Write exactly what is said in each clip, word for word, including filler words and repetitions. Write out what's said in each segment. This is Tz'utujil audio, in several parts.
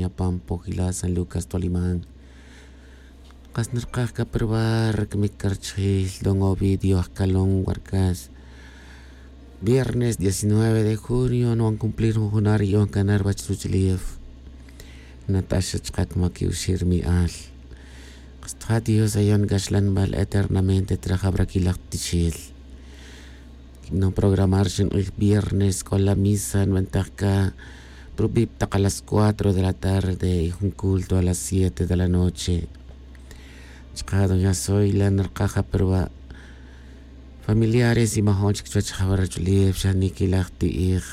Apan pojila san lucas toliman. Kas narkaj ka probar kmik ka rchjil don ovidio ajkalon warkas. Viernes diecinueve de junio nuan cumplir jun junar yu'on ka narwach ruch'lif. Nataxa chka kmak yuxir mi'al. Kastja dios ayon kaxlanbal eternamente trajabrakilaj tixil. Kibnon programar xink'ij viernes k'o la misa nbentaj ka prubib tak a las cuatro de la tarde y jun culto a las siete de la noche. Chka doña soy la narkaj aproba. Familiares y majon chik chuwech jawar ruch'lif xa nikilaj ti'ij.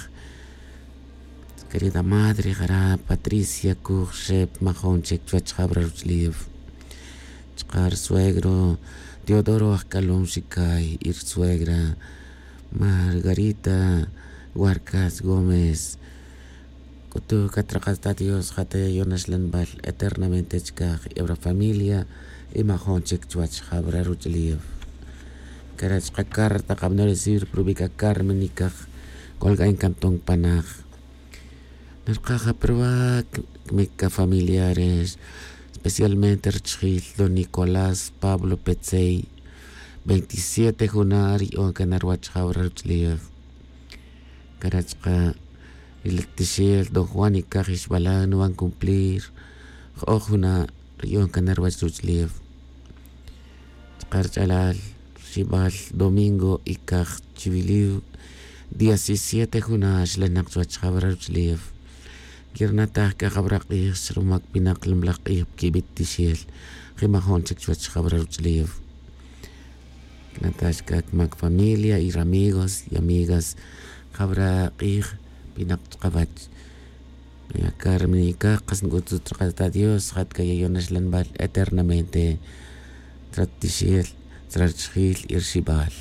Querida madre jara patricia kuj xep majon chik chuwech jawar ruch'lif. Chka rsuegro teodoro ajkalon xikay y rsuegra margarita warkas gómez. K'utu' katraqat ta dios ja' ta yayon axlanbal eternamente chkaj ebra familia. Y majon chik chuwach jabra ruch'lif. Kara' chka carta kabno recibir prubi' ka carmen y kaj. Kolk'ay nkanton panaj narkaj aproba. Kmik ka familiares especialmente richjil don nicolás pablo petzey. Veintisiete juna' riy'on kan arwach jabra ruch'lif. Kara' chka ri la tixel don juan y kaj ixbalan nuban cumplir. Jo'oj juna' riy'on kan arwach ruch'lif. Chka rich'alal rxibal domingo y kaj chiwiliw. Diecisiete juna' xlanak chuwach jabra ruch'lif. Kirnataj k'a jabra q'ij xrumak pinak lmlaj q'ij pkibi' tixel. Jimajon chik chuwach jabra ruch'lif. Natax k'a kmak familia y ramigos y amigas jabra q'ij pinak chkawach. Aka rminikaj qas nk'utzut rq'at ta dios jat k'a yayon axlanbal eternamente. Tratixel trarchijil y rxibal.